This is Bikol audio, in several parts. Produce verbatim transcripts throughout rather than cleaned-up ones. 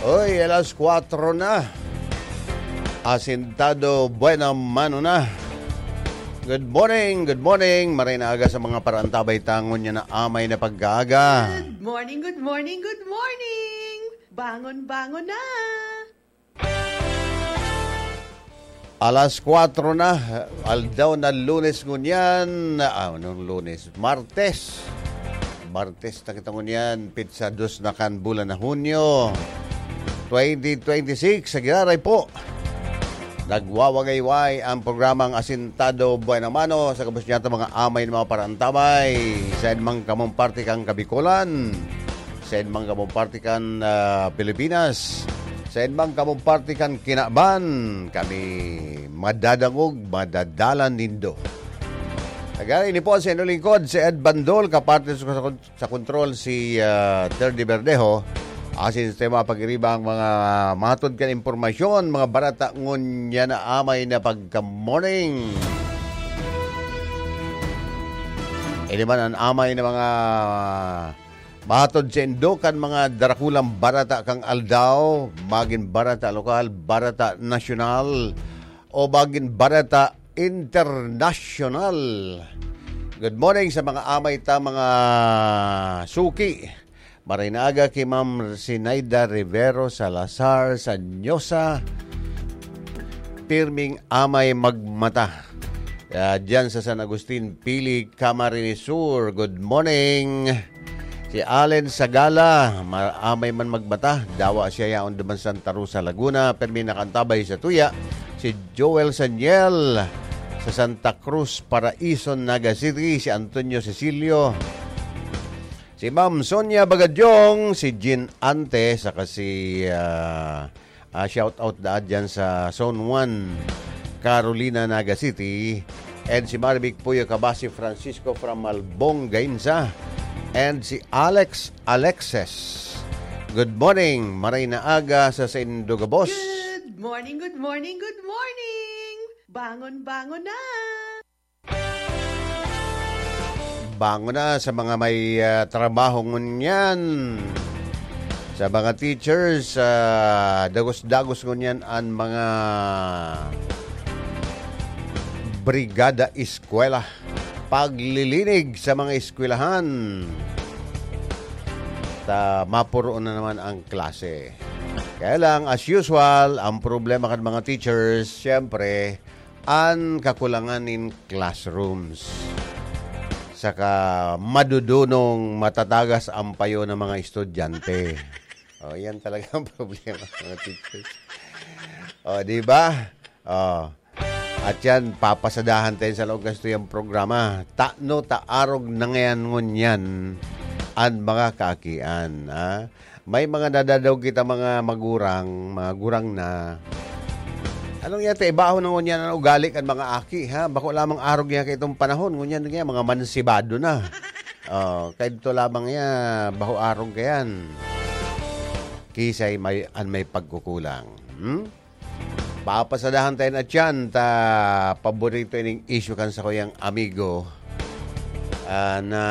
Oy, alas kwatro na. Asintado, buena mano na. Good morning, good morning. Maray na aga sa mga paraantabay tangon niya na amay na pagkaaga. Good morning, good morning, good morning. Bangon, bangon na. Alas kwatro na, aldaw na Lunes ngunyan. Ah, anong Lunes? Martes. Martes na kita ngunyan, pitsa dos na kan bulan na Hunyo, twenty twenty-six. Sa giraray po, nagwawagayway ang programang Asintado Buena Mano sa gabos niya mga amay ng mga parantabay. Sa mang kamong parte kang Kabikolan, sa mang kamong parte kan, ah, Pilipinas, sa mang kamong parte kan kinaban, kami madadangog, madadalan nindo. Tagay ini po sa inyong lingkod, si Ed Bandol, kaparte sa, sa kontrol si, ah, Terdy Verdejo. Asin sa tema pag-iriba ang mga matod kan impormasyon, mga barata ngunyan na amay na pagka-morning. Ini man ang amay na mga matod sa indo kan mga darakulang barata kang aldaw, magin barata lokal, barata nasyonal, o magin barata internasyonal. Good morning sa mga amay ta, mga suki. Maray na aga ki Ma'am Sinaida Rivero Salazar Sanyosa. Pirming amay magmata. Ah, diyan sa San Agustin, Pili, Camarines Sur. Good morning. Si Allen Sagala, ma-, amay man magmata, dawa siya yaon duman Santa Rosa, Laguna, permi nakantabay sa tuya. Si Joel Saniel, sa Santa Cruz, Paraison, Naga City, si Antonio Cecilio, si Ma'am Sonia Bagadyong, si Jean Ante, saka si, ah, ah, shout out daan dyan sa Zone one, Carolina, Naga City, and si Marivic Puyo Kabasi Francisco from Malbong, Gainza, and si Alex Alexis. Good morning, maray na aga sa saindo gabos. Good morning, good morning, good morning. Bangon, bangon na. Bangon na sa mga may, ah, trabaho ngunyan. Sa mga teachers, ah, dagos-dagos ngunyan an mga brigada eskwela. Paglilinig sa mga eskwelahan. Ta, mapuroon na naman ang klase. Kaya lang, as usual, ang problema kan mga teachers, siyempre, an kakulangan nin classrooms. Saka madudunong matatagas ang payo ng mga estudyante. O, yan talaga ang problema ng mga teachers. O, di ba? O. At yan, papasadahan tayo sa laog kasto yung programa. Tano ta arog na ngayon ngunyan an mga kaakian, ha? May mga nadadaog kita mga magurang, mga gurang na. Anong yata, ibaho na ngunyan ang ugali kan mga aki, ha? Bako lamang arog niya kaitong panahon, ngunyan niya, mga mansibado na. Oh, kaidto lamang niya, baho arog kayan. Kisay may, an may pagkukulang. Hmm? Papasadahan tayo na tiyan ta paborito ining issue kan sakuyang amigo, ah, na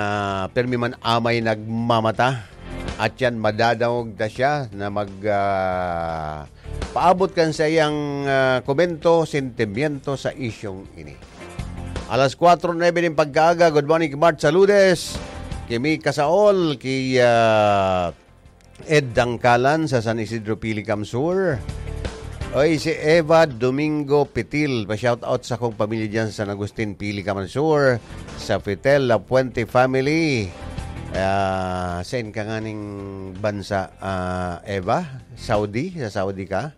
pirmi man amay nagmamata. At yan, madadangog ta siya na mag, ah, paabot kan sa iyang, ah, komento, sentimiento sa isyong ini. Alas kwatro nuebe nin pagkaaga, good morning, Mart Saludes, ki Mika Saol, ki, ah, Ed Dangkalan sa San Isidro, Pilicam Sur. Oy, si Eva Domingo Pitil, pa-shoutout sa kong pamilya diyan sa San Agustin, Pilicam Sur, sa Fitel La Puente family. Ah, saan ka nganing bansa, ah, Eva? Saudi? Sa Saudi ka?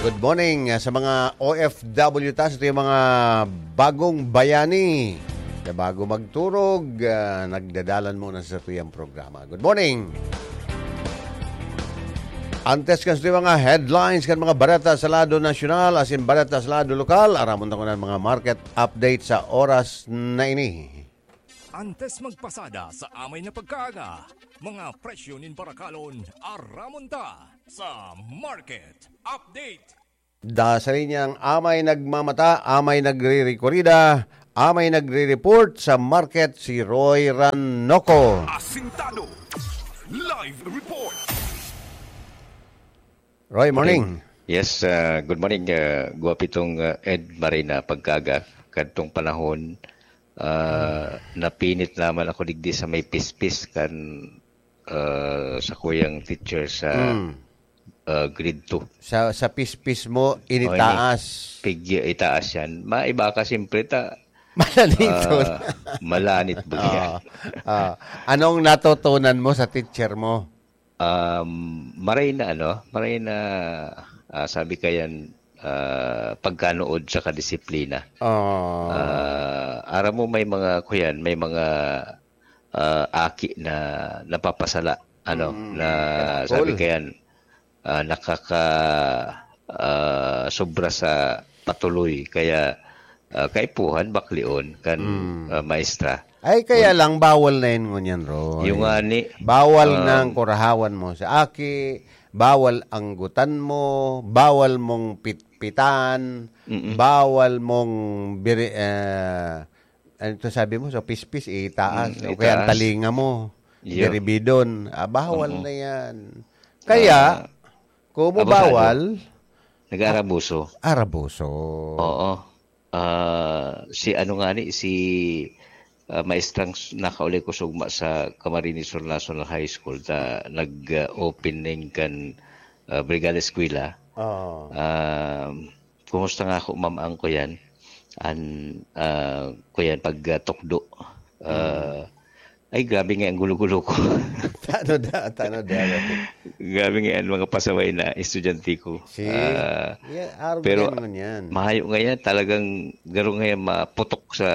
Good morning, ah, sa mga O F W ta, sa tuyang mga bagong bayani. Sa bago magturog, ah, nagdadalan muna sa tuyang programa. Good morning. Antes kan sa tuyang mga headlines kan mga bareta sa lado nasyonal, asin bareta sa lado lokal, aramon ta kunan mga market update sa oras na ini. Antes magpasada sa amay na pagkaaga, mga presyo nin parakalon, aramon ta sa market update. Da sa linyang amay nagmamata, amay nagre-rekorida, amay nagre-report sa market si Roy Ranoco. Asintado. Live report. Roy, morning. Yes, ah, good morning, ah, Guwapitong, ah, Ed Marina. Pagkaga, kadtong panahon, ah, napinit naman ako digdi sa may pispis kan, ah, sa kuyang teacher sa, Mm. ah, grade two. Sa, sa pispis mo, O, ini initaas. Pig-, itaas yan. Maiba ka, siyempre, ta-, Malanito. ah, malanit ba yan? Oo. Ah, anong natutunan mo sa teacher mo? Um, maray na ano, maray na, ah, sabi kayan, ah, pagkanood sa kadisiplina. Oo. Ah, aram mo, may mga, kuyan, may mga, ah, aki na napapasala, ano, Mm. na Cool. sabi kayan, ah, nakaka-, ah, sobra sa patuloy. Kaya, ah, kaipuhan, baklion kan, Mm. ah, maestra. Ay, kaya Kun- lang, bawal na yun ngunyan, Roy. Yung nga ni, Bawal um, nang kurahawan mo sa aki, bawal anggutan mo, bawal mong pitpitan, Mm-mm. bawal mong biri-, ah, ano to sabi mo? Sa pispis, itaas. Mm, O kaya ang itaas. talinga mo, Iyo. biribidon. Ah, bawal Oo. na yan. Kaya, Ah, kumo abusado. bawal, Nag-aarabuso. arabuso. Oo. Ah, si ano nga ni, si, ah, maestrang s-, nakauli ko sugma sa Camarines Sur National High School, ta nag-, ah, opening kan, ah, Brigada Eskwela. Oo. Ah, kumusta nga ako, ma'am, ang kuyan? An, ah, kuyan, pag, ah, tukdo. Ah, Mm. Ay, grabe nga ang gulo-gulo ko. Tano da, tano da. Grabe nga ang mga pasaway na estudyante ko. See? Ah, Yeah, araw pero na yan, yan. mahayo nga yan, talagang garo nga yan maputok sa,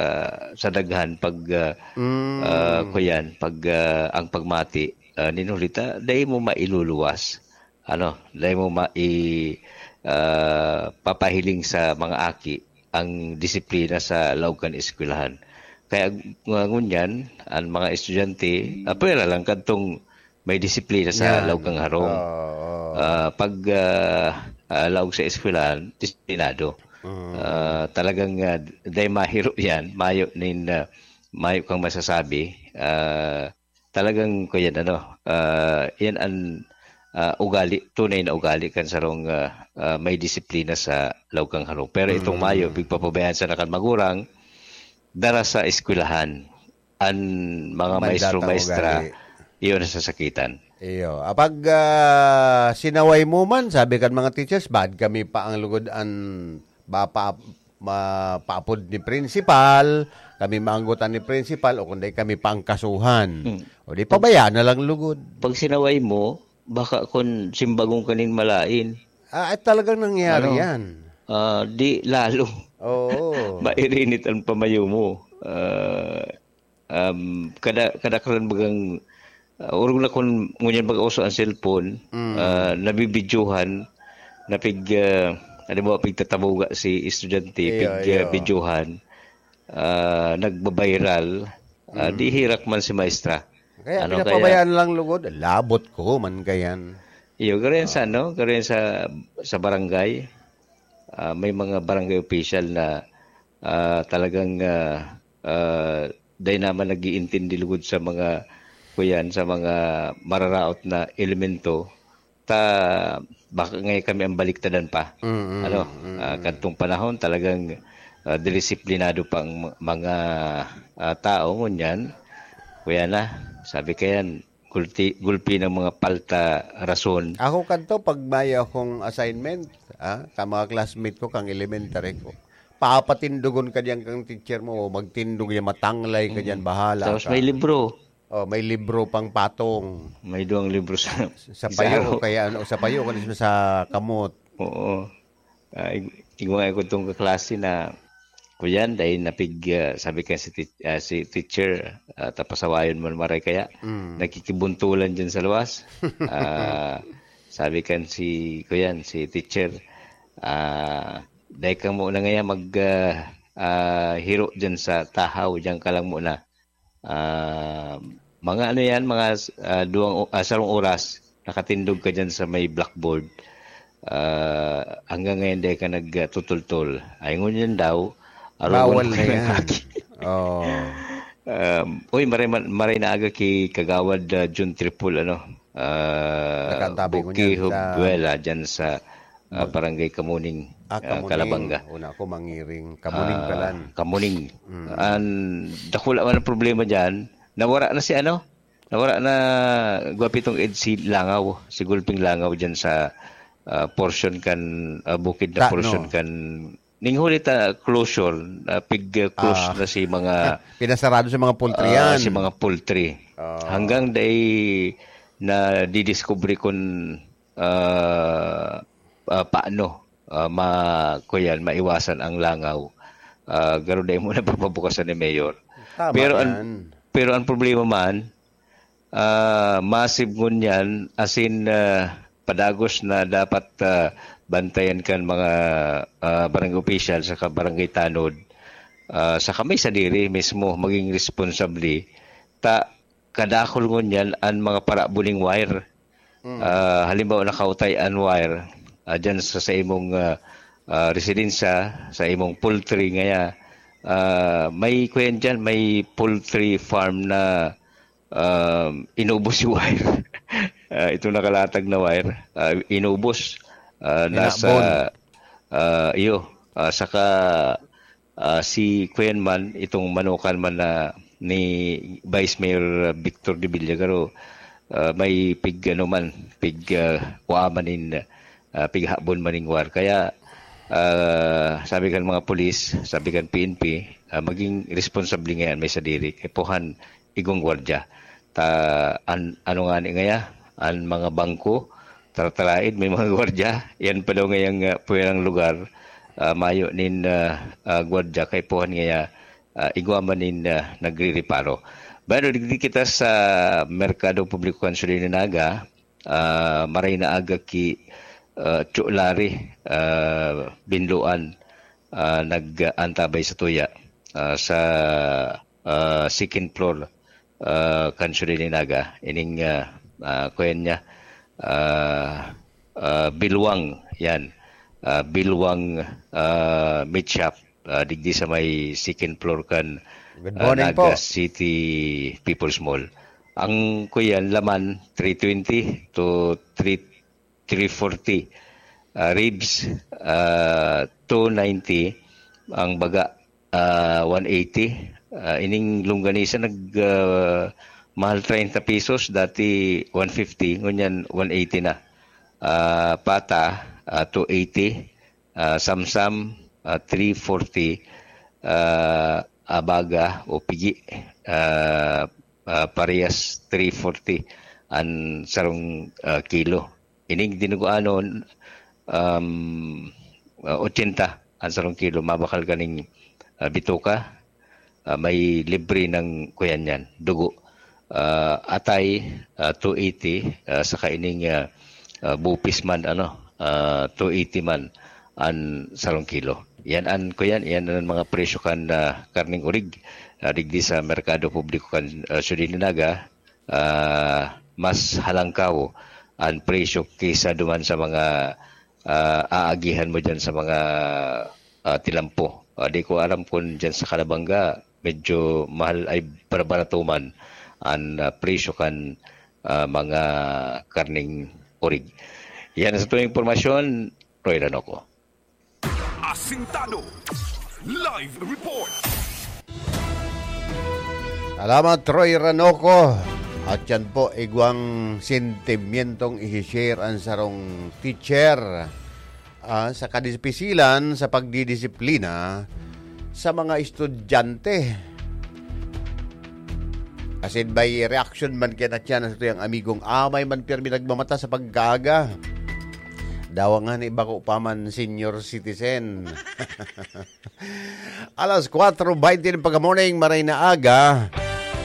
sa daghan pag, ah, Mm. ah, kuyan, pag, ah, ang pagmati, ah, ninulita, dahil mo mailuluwas. Ano, dai mo ma-, i-, ah, papahiling sa mga aki ang disiplina sa laog kan eskwelahan. Kaya, nga ngunyan, ang mga estudyante, ah, pwera lang kadtong may disiplina sa Yan. laog kan harong. Oo, oo. Ah, pag, ah, ah, laog sa eskwelahan, disiplinado. Mm. Ah, talagang, ah, dai mahiro yan, mayo nin, ah, mayo kang masasabi. Ah, talagang, kuyan, ano, ah, yan ang, ah, ugali, tunay na ugali kan sarong, ah, ah, may disiplina sa laog kan harong. Pero itong Mm. mayo, pigpapabayaan sa nakan magurang, dara sa eskwelahan, ang mga Manda maestro, ta maestra, ugali. iyon ang sasakitan. Iyo. Apag, ah, sinaway mo man, sabi kan mga teachers, bad kami pa ang lugod an ba pa, ma-, paapod ni principal, kami maanggotan ni principal, o kundi kami pangkasuhan. Hmm. O di, Pag pabaya na lang lugod. Pag sinaway mo, baka kun simbagong kanin malain. Ah, at talagang nangyari Ano? yan. Ah, di lalo. Oo. Mairinit ang pamayo mo. Ah, um, kada, kadaklan bagang, ah, orog na kun ngunyan baga uso ang cellphone, Mm. ah, nabibidyohan, na pig, ah, halimbawa, pigtatabuga si estudyante, Iyo, pig, ah, iyo. bidyohan, ah, nagbabiral, ah, Mm. di hirak man si maestra. Kaya Ano pinapabayaan kaya? lang lugod, labot ko man kayan. Iyo, garo yan sa Ah. ano, garo yan sa, sa barangay. Ah, may mga barangay official na, ah, talagang, ah, ah, dai naman nag-iintindi lugod sa mga, kuyan, sa mga mararaot na elemento. Ta, baka ngay kami ang baliktadan pa. Mm, mm, Ano, mm, ah, mm. kadtong panahon talagang, ah, disiplinado pa ang ma-, mga, ah, tao ngunyan. Kuya na, sabi kayan, gulti-, gulpi ng mga palta rason. Ako kadto, pag may akong assignment, ah, ka mga classmate ko, kang elementary ko, papatindogon ka diyan kang teacher mo, o magtindog yan, matanglay ka diyan, Mm. bahala Tapos ka. may libro. Oh, may libro pang patong. May duwang libro sa Sa payo, isaro. o kaya ano, sa payo, kung sa kamot. Oo. Ah, ig-, igwa nga ko itong kaklase na, kuyan, dahil napig, ah, sabi ka si tea-, ah, si teacher, ah, tapasawayon mo maray kaya, Mm. nakikibuntulan dyan sa luwas. Ah, sabi kan si, kuyan, si teacher, ah, dahil ka muna ngayon mag, ah, ah, hiro dyan sa tahaw, dyan ka lang muna. Ah, mga ano yan, mga, ah, duwang o-, ah, sarong oras, nakatindog ka diyan sa may blackboard. Ah, hanggang ngayon, dai ka nagtutultol. Ay, ngunyan daw, arugon Bawal ko na ng yan. aki. Oo. Um, uy, maray, maray na aga ki Kagawad, ah, Jun Tripul, ano, ah, Nakaantabay ko Buki niyan sa Hubwela, dyan sa, ah, Mag- Barangay Kamuning, Ah, ah, Kamuning. Calabanga. Una ako, Mangiring. Kamuning Ah, palan. Kamuning. Mm. An, dakula man ang problema dyan. Nawara na si ano? Nawara na, gwapi tong EDSA Langaw, si Gulping Langaw dyan sa, ah, portion kan, ah, bukid na Ta-, portion no. kan, ning huli ta closure, ah, pig, ah, close Ah. na si mga Pinasarado sa mga poultry ah, yan. si mga poultry. Ah. Hanggang day na didiscovery kun, ah, ah, paano, ah, ma-, kuyan, maiwasan ang langaw. Ah, garo day mo na papabukasan ni Mayor. Tama Pero ang, yan. pero ang problema man, ah, massive ngunyan, as in, ah, padagos na dapat, ah, bantayan kan mga, ah, barangay official saka barangay tanod, ah, saka may sadiri mismo maging responsable. Ta, kadakol ngunyan an mga parabuling wire. Mm. Ah, halimbawa, nakautay an wire, ah, dyan sa, sa imong, ah, ah, residensya, sa imong poultry ngaya, ah, may kuyan dyan, may poultry farm na, um, inubos yung wire. Ah, itong nakalatag na wire, ah, inubos. Ah, nasa, Minabon. ah, iyo, ah, saka, ah, si kuyan man, itong manukan man na ni Vice Mayor Victor de Villagaro, ah, may pig, ano man, pig, ah, kuha man in, ah, pighabon man ning wire. Kaya, ah, sabi kan mga pulis, sabi kan P N P, ah, maging responsable ngayan may sadiri. Kay puhan igong gwardya. Ta, an, ano nga ni ngaya, an mga bangko, tartalaid, may mga gwardya. Yan pa daw ngayang, ah, puwerang lugar, ah, mayo nin, ah, ah, gwardya, kay puhan ngaya, ah, igwa man nin, ah, nagrireparo. Bueno, digdi kita sa Merkado Publiko kan Suli ni Naga, ah, maray na aga ki, ah, Chulari, ah, Binloan, ah, nag-antabay sa tuya, ah, sa, ah, second floor, ah, kan Suli ni Naga. Ining, ah, ah, kuyan niya, ah, ah, Bilwang, yan. Ah, Bilwang, ah, Meat Shop, ah, digdi sa may second floor kan, Good ah, morning po. Naga City People's Mall. Ang kuyan, laman, three twenty to three, three forty. Ah, ribs, ah, two ninety. Ang baga, ah, one eighty. Ah, ining longganisa nag, ah, mahal treinta pesos, dati one fifty, ngunyan one eighty na. Ah, pata, ah, two eighty. Ah, samsam, ah, three forty. Ah, abaga o pigi, ah, ah, parehas three forty an sarong, ah, kilo. Ining dinuguanon, um, ah, ochenta an sarong kilo. Mabakal kaning, ah, bituka, ah, may libre ng kuyan yan, dugo. Ah, atay, ah, two eighty, ah, saka ining, ah, ah, bupis man, ano, ah, two eighty man an sarong kilo. Yan an kuyan, yan an mga presyo kan, ah, karneng orig, ah, digdi sa Merkado Publiko kan, ah, Suli ni Naga. Ah, mas halangkaw an presyo kaysa duman sa mga, ah, aagihan mo dyan sa mga, ah, tilampo. Ah, di ko alam kung dyan sa Calabanga, medyo mahal ay barabarato man an, ah, presyo kan, ah, mga karneng orig. Yan sa tuwing impormasyon, Roy Ranoco. Asintado. Live report. Salamat, Roy Ranoco. At yan po, igwang sentimientong isi-share ang sarong teacher, ah, sa kadisipilan sa pagdidisiplina sa mga estudyante. Asin may reaction man kaya na siya na sa tuyang amigong amay man pirmi nagmamata sa pagkaaga. Dawa nga ni bako pa man senior citizen. Alas kwatro baynte ng pagka-morning, maray na aga.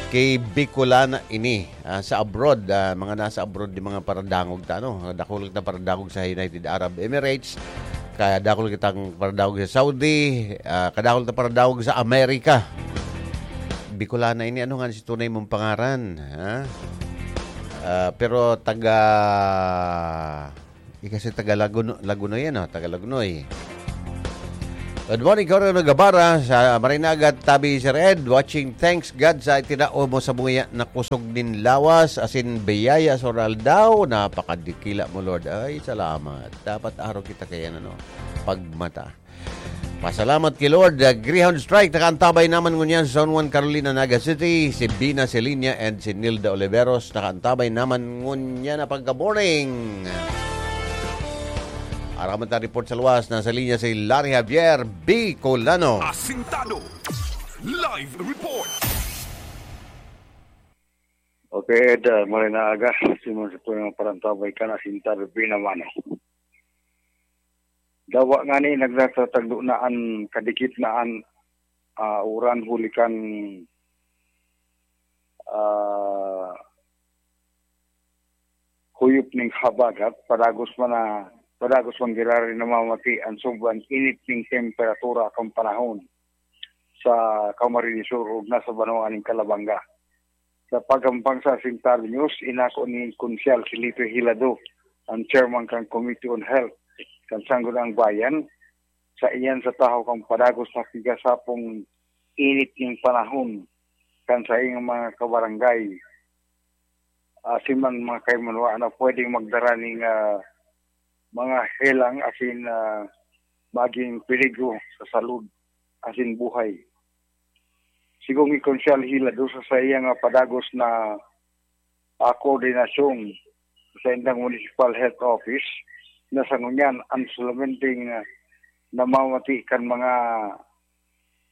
Kay Bicolana ini, ah, sa abroad, ah, mga nasa abroad, di mga paradangog ta, no? Dakul kita paradangog sa United Arab Emirates. Kaya dakul kitang paradangog sa Saudi, ah, kadakul ta paradangog sa Amerika. Bicolana ini, ano nga si tunay mong pangaran, ha? Ah, pero taga Ika si taga Laguno-, Lagunoy, ano? Taga Lagunoy. Good morning, Coronel Gabara. Sa Marinagat, tabi, Sir Ed. Watching, thanks God sa itinao mo sa buya na kusog nin lawas, asin biyaya sa aldaw. Napakadikila mo, Lord. Ay, salamat. Dapat araw kita kaya, ano, pagmata. Pasalamat ki Lord. Ah, Greyhound Strike, nakaantabay naman ngunyan sa San Juan, Carolina, Naga City. Si Bina Celinia and si Nilda Oliveros, nakaantabay naman ngunyan na pagka-morning. Aramat na report sa luwas, nasa linya si Larry Javier Bicolano. Asintado. Live report. Okay, Ed, ah, maray na aga. Simon sa po yung parantabay ka na, Asintado, Binamano. Dawa nga ni, nagtatagdo na an kadikit na an, ah, uran huli kan, ah, huyop ning habagat, padagos man na, padagos man giraray namamati an sobrang init ning temperatura kan panahon sa Camarines Sur ug nasa banwaan ning Calabanga. Sa pagampang sa Asintado News, inako ni Konsyal Felipe Hilado, ang chairman kan Committee on Health kan Sangguniang Bayan, sa iyan sa tahaw kan padagos na pigasapong init ning panahon kan saiyang mga kabarangay, asin man mga kaimanuan na pwedeng magdara ning, ah, mga helang asin, ah, maging peligro sa salud asin buhay. Sigon ni Konsyal Hilado sa saiyang, ah, padagos na, ah, koordinasyon sa indang Municipal Health Office, na sa ngunyan, ang solamente, ah, namamati kan mga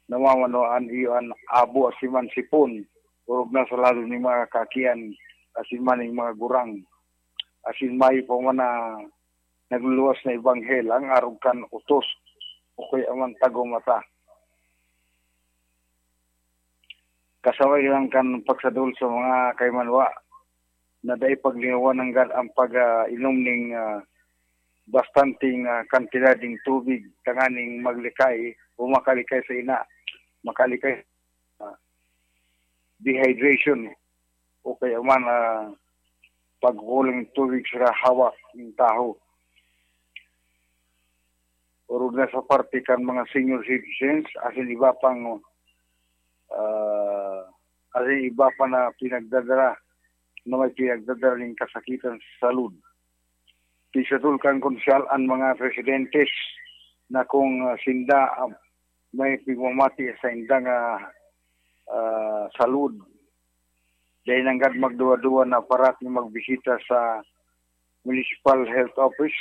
namamanuan iyo an abo asin man sipon, orog na sa lado nin mga kakian asin man nin mga gurang. Asin mayo pa man na nagluluwas na ibang helang arog kan utos o kaya man tagomata. Kasabay lang kan pagsadol sa mga kaimanwa na dai paglingawan nanggad ang pag-inom ning, ah, bastanteng, ah, kantidad ning tubig tanganing maglikay o makalikay sa ina, makalikay, ah, dehydration o kaya man, ah, pagkulang tubig sa hawak ng taho. Orog na sa parte kan mga senior citizens, asin iba pang, ah, asin iba pa na pinagdadala, na may pinagdadala ning kasakitan sa salud. Pisadol kan Konsyal an mga residentes na kung, ah, sinda, ah, may pigmamati sa indang, ah, ah, salud, dai nanggad magduwa-duwa na parati magbisita sa Municipal Health Office,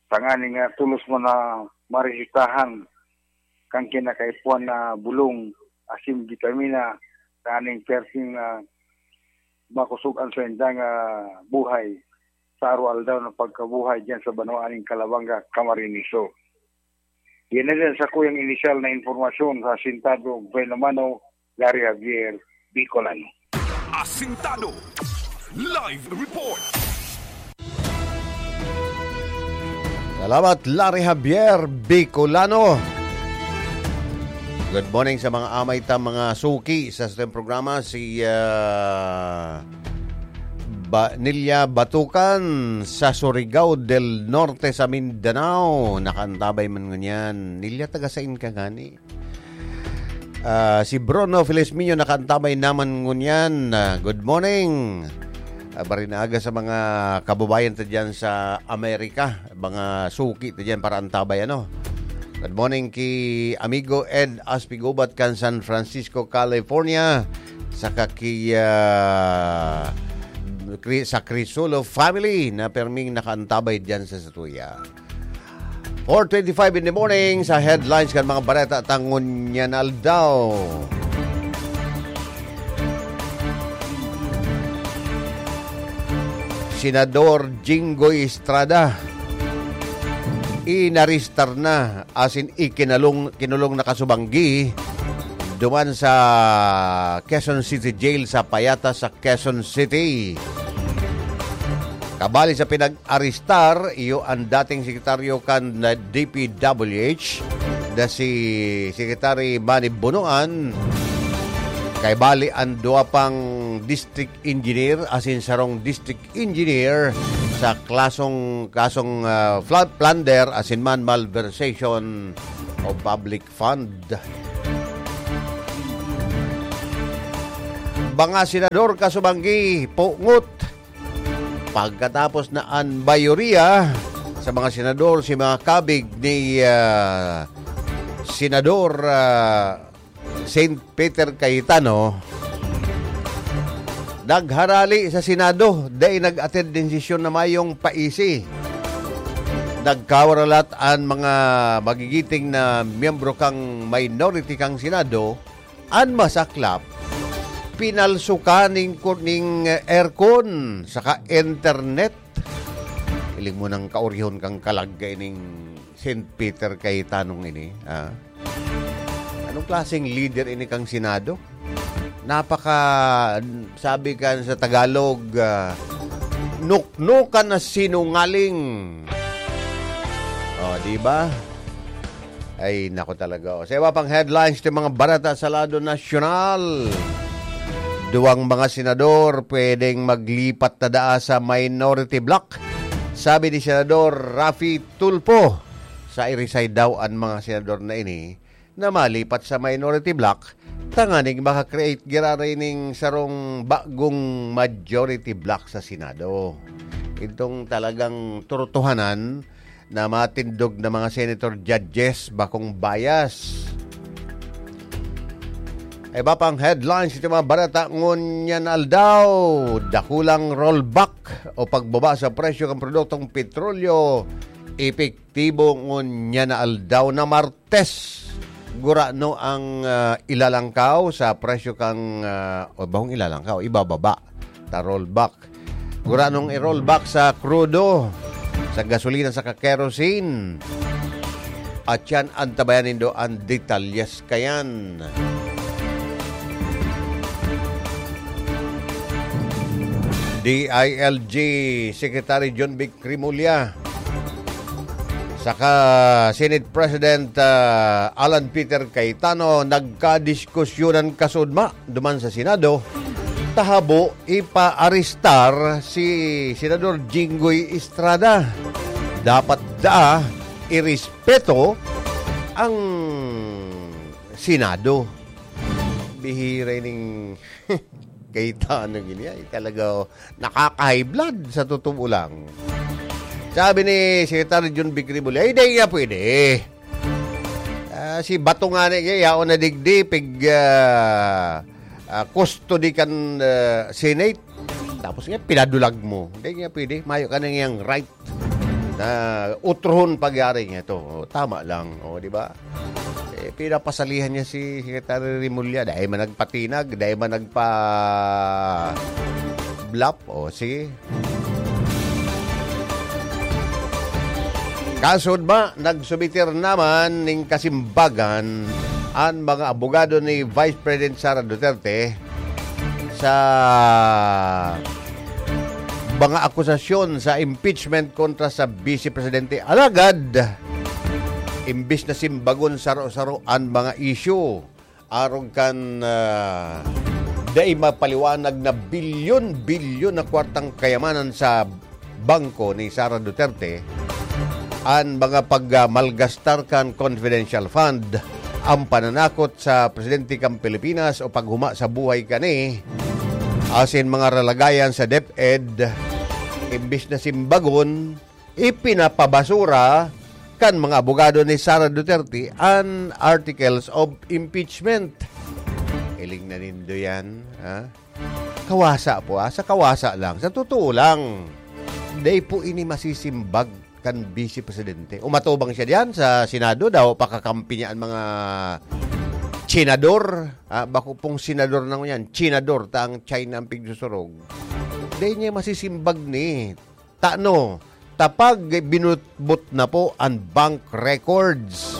tanganing, ah, tolos man na maresetahan kan kinakaipuhan na bulong asin bitamina, tanganing perting, ah, makosog an saindang, ah, buhay sa araw-aldaw na pagkabuhay diyan sa banwaan nin Calabanga, Camarines Sur. Yan na din sa kuyang inisyal na impormasyon sa Asintado, Buena Mano, Larry Javier, Bicolano. Asintado. Live report. Salamat, Larry Javier Bicolano. Good morning sa mga amay ta, mga suki sa ating programa. Si, ah, Ba-, Nelia Batukan sa Surigao del Norte sa Mindanao. Nakaantabay man ngunyan. Nelia, taga sain ka ngani? Ah, si Bruno Felizmino nakaantabay naman ngunyan. Ah, good morning. Ah, bari na aga sa mga kababayan ta dyan sa Amerika, mga suki ta dyan para antabay, ano. Good morning ki amigo Ed Aspigubat kan San Francisco, California. Saka ki, ah, Cri-, sa Crisulo family na perming nakaantabay dyan sa satuya. Four twenty-five in the morning sa headlines kan mga bareta ta ngunyan aldaw. Senador Jinggoy Estrada, inarestar na asin ikinalong-, kinulong na kasubanggi duman sa Quezon City Jail sa Payata sa Quezon City. Kabali sa pinag-arestar, iyo an dating sekretaryo kan D P W H na si Secretary Manny Bonoan, Kay bali an duwa pang district engineer asin sarong district engineer sa klasong, kasong, ah, fla-, plunder asin man malversation of public fund. Mga senador kasubanggi, pungot. Pagkatapos na an mayoriya sa mga senador, si mga kabig ni, ah, Senador, ah, Saint Peter Cayetano, nagharali sa Senado, dai nag-attend nin sesyon na mayong paisi. Nagkawaralat an mga magigiting na miyembro kan minority kan Senado, an masaklap, pinalsukan nin kur-, nin aircon saka internet. Hiling mo nang kaorihon kan kalag kaining Saint Peter Cayetano ini, ah. Anong klaseng leader ini kan Senado? Napaka, sabi kan sa Tagalog, ah, nuknukan na sinungaling. Oh, di ba? Ay, nako talaga, oh. Sa iba pang headlines ng mga barata sa lado nasyonal, duwang mga senador pwedeng maglipat na daa sa minority bloc. Sabi ni Senador Raffy Tulfo, sa i-resign daw an mga senador na ini na malipat sa minority bloc tanganing maka-create giraray ning sarong bagong majority bloc sa Senado. Itong talagang tortohanan na matindog na mga senator judges, bakong bias. Iba pang headlines ito mga barata ngunyan aldaw, dakulang rollback o pagbaba sa presyo ng produktong petrolyo, epektibo ngunyan na aldaw na Martes. Gurano ang, ah, ilalangkaw sa presyo kang, ah, o bahong ilalangkaw, ibababa, ta rollback. Guranong i-rollback sa krudo, sa gasolina, sa kerosene. At yan, antabayan nindo ang detalyes kayan. D I L G Secretary John Vic Remulla saka Senate President, ah, Alan Peter Cayetano nagkadiskusyonan kasudma duman sa Senado, tahabo ipaarestar si Senador Jinggoy Estrada. Dapat daa irespeto ang Senado. Bihira ining Cayetano gini ay talaga, oh, nakaka-high blood sa totoo lang. Sabi ni Secretary John Vic Remulla, "Ay, di nga pwede. Ah, si Bato nga ni, yaon na digdi, pig, ah, ah, custody kan, ah, Senate. Tapos nga, pinadulag mo. Di nga pwede. Mayo ka na ngayang right na utrohon pagyari niya to." Oh, tama lang. Oh, di ba? Eh, pinapasalihan niya si Secretary Remulla. Dai man nagpatinag, dai man nagpa-bluff. O, sige. Kasudma, nagsubitir naman ning kasimbagan an mga abogado ni Vice President Sara Duterte sa mga akusasyon sa impeachment kontra sa Vice Presidente. Alagad, imbis na simbagon saro-saro an mga isyu, arog kan, ah, dai mapaliwanag na bilyon-bilyon na kwartang kayamanan sa bangko ni Sara Duterte, an mga pagmalgastar kan confidential fund, ang pananakot sa presidente kan Pilipinas o paghuma sa buhay kani, asin mga ralagayan sa DepEd, imbis na simbagon, ipinapabasura kan mga abogado ni Sara Duterte an articles of impeachment. Hiling na nindo yan, ha? Kawasa po, ah. Sa kawasa lang. Sa totoo lang. Dai po ini masisimbag kan Vice Presidente. Umatubang siya diyan sa Senado daw, pakakampi niya ang mga senador. Ah, bako pong senador na yan. Senador, ta ang China ang pigsusurog. Dai niya masisimbag ni. Tano, tapag binutbot na po ang bank records.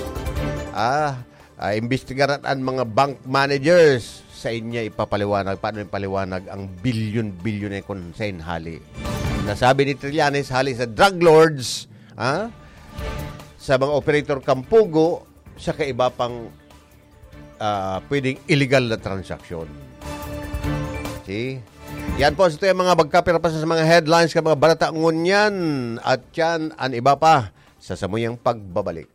Ah, ah, imbestigaran ang mga bank managers. Sa inya ipapaliwanag, paano ipaliwanag ang bilyon-bilyon na kun saan hali. Nasabi ni Trillanes, hali sa drug lords, ah, sa mga operator kan Pogo, sa kaiba pang, ah, pwedeng illegal na transaksyon. Yan po, sa tuyang mga magkapira pa sa mga headlines kan mga bareta ngunyan. At yan, an iba pa, sa samuyang pagbabalik.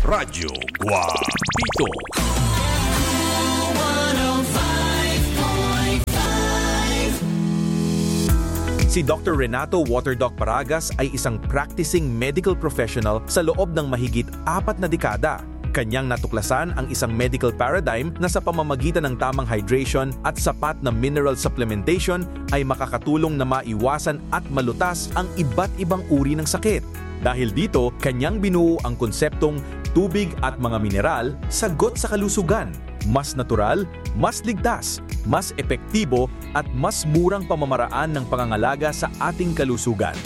Radyo Guapito. Si Doktor Renato Waterdoc Paragas ay isang practicing medical professional sa loob ng mahigit apat na dekada. Kanyang natuklasan ang isang medical paradigm na sa pamamagitan ng tamang hydration at sapat na mineral supplementation ay makakatulong na maiwasan at malutas ang iba't ibang uri ng sakit. Dahil dito, kanyang binuo ang konseptong tubig at mga mineral, sagot sa kalusugan. Mas natural, mas ligtas, mas epektibo, at mas murang pamamaraan ng pangangalaga sa ating kalusugan.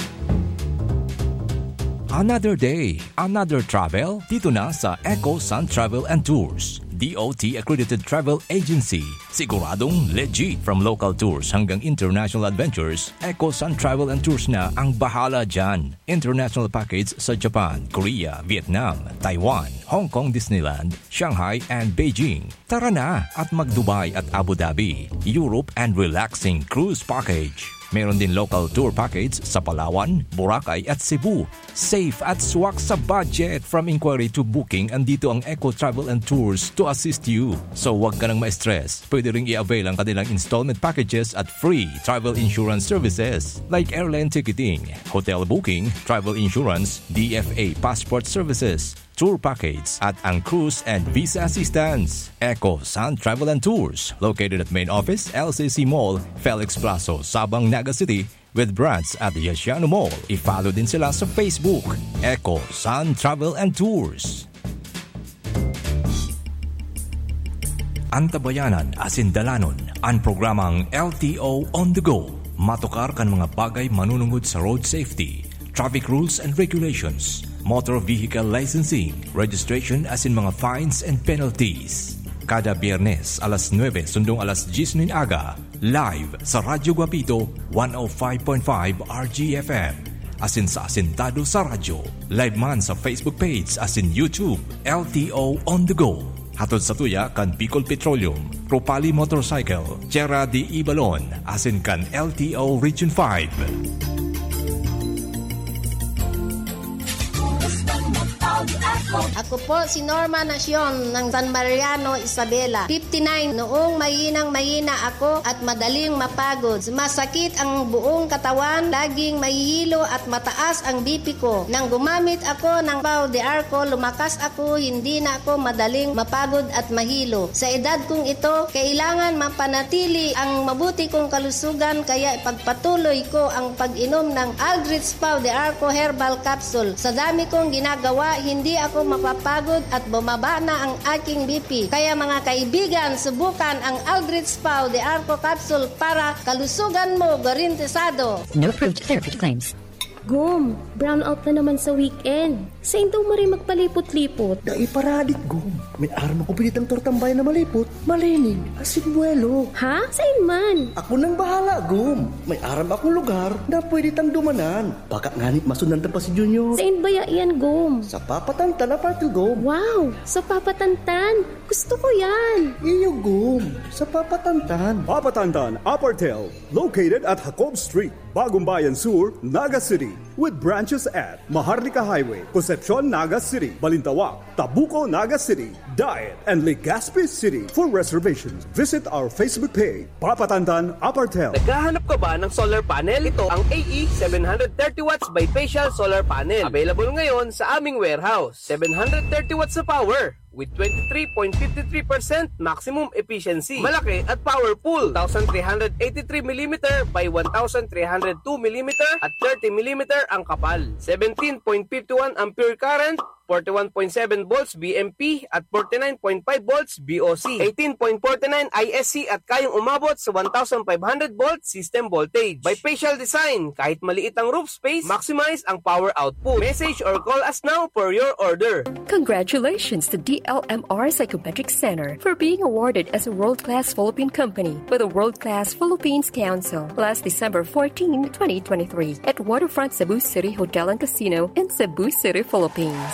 Another day, another travel, dito na sa Eco Sun Travel and Tours, D O T accredited travel agency. Siguradong legit. From local tours hanggang international adventures, Eco Sun Travel and Tours na ang bahala dyan. International package sa Japan, Korea, Vietnam, Taiwan, Hong Kong Disneyland, Shanghai, and Beijing. Tara na at mag-Dubai at Abu Dhabi, Europe, and relaxing cruise package. Meron din local tour package sa Palawan, Boracay, at Cebu. Safe at swak sa budget. From inquiry to booking, andito ang Eco Travel and Tours to assist you. So, wag ka nang ma-stress. Pwede ring i-avail ang kanilang installment packages at free travel insurance services like airline ticketing, hotel booking, travel insurance, D F A passport services, tour package, at ang cruise and visa assistance. Eco Sun Travel and Tours, located at main office, L C C Mall, Felix Plazo, Sabang, Naga City, with branch at Yasiano Mall. I-follow din sila sa Facebook, Eco Sun Travel and Tours. Antabayanan asin dalanon an programang L T O On The Go. Matukar kan mga bagay manunungod sa road safety, traffic rules and regulations, motor vehicle licensing, registration asin mga fines and penalties. Kada Biyernes, alas nuebe sundong alas dyes nin aga, live sa Radyo Guapito, one oh five point five R G F M. Asin sa Asintado sa Radyo. Live man sa Facebook page asin YouTube, L T O On The Go. Hatod sa tuya kan Bicol Petroleum, Ropali Motorcycle, Tierra de Ibalon, asin kan L T O Region five. Ako po si Norma Nacion ng San Mariano, Isabela, fifty-nine. Noong mahinang-mahina ako at madaling mapagod, sumasakit ang buong katawan, laging mahihilo at mataas ang B P ko. Nang gumamit ako ng Pau de Arco, lumakas ako, hindi na ako madaling mapagod at mahilo. Sa edad kong ito, kailangan mapanatili ang mabuti kong kalusugan, kaya ipagpatuloy ko ang pag-inom ng Aldrich Pau de Arco Herbal Capsule. Sa dami kong ginagawa, hindi ako mapapagod at bumaba na ang aking B P. Kaya, mga kaibigan, subukan ang Aldrich Pau de Arco Capsule para kalusugan mo garantisado. No approved therapy claims. Gom, brownout na naman sa weekend. Sain daw maray magpalipot-lipot? Dai paradik, Gom. May aram ako pinitang tortambay na malipot, malinig, asin buwelo. Ha? Sain man? Ako nang bahala, Gom. May aram akong lugar na pwede tang dumanan. Baka ngani masundan ta pa si Junior. Sain baya iyan, Gom? Sa Papa Tantan Apartel, Gom. Wow! Sa Papa Tantan? Gusto ko yan! Iyo, Gom. Sa Papa Tantan. Papa Tantan Apartel, located at Jacob Street, Bagong Bayan Sur, Naga City, with branches at Maharlika Highway, Concepcion, Naga City, Balintawak, Tabuco, Naga City, Daet, and Legazpi City. For reservations, visit our Facebook page, Papa Tantan Apartel. Naghahanap ka ba ng solar panel? Ito ang A E seven hundred thirty watts bifacial solar panel. Available ngayon sa aming warehouse. Seven hundred thirty watts na power with twenty-three point five three percent maximum efficiency. Malaki at powerful. Two thousand three hundred eighty-three millimeter by one thousand three hundred two millimeter at thirty millimeter ang kapal. Seventeen point five one ampere current, forty-one point seven volts V M P at forty-nine point five volts V O C, eighteen point forty-nine I S C at kayang umabot sa one thousand five hundred volt system voltage. Bifacial design, kahit maliit ang roof space, maximize ang power output. Message or call us now for your order. Congratulations to D L M R Psychometric Center for being awarded as a world-class Philippine company by the World Class Philippines Council last December fourteen, twenty twenty-three, at Waterfront Cebu City Hotel and Casino in Cebu City, Philippines.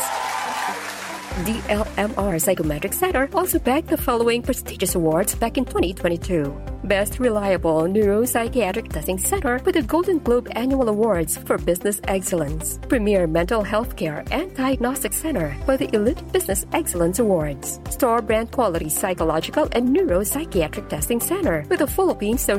D L M R Psychometric Center also bagged the following prestigious awards back in twenty twenty-two. Best Reliable Neuropsychiatric Testing Center with the Golden Globe Annual Awards for Business Excellence. Premier Mental Health Care and Diagnostic Center for the Elite Business Excellence Awards. Store Brand Quality Psychological and Neuropsychiatric Testing Center with the Philippine Social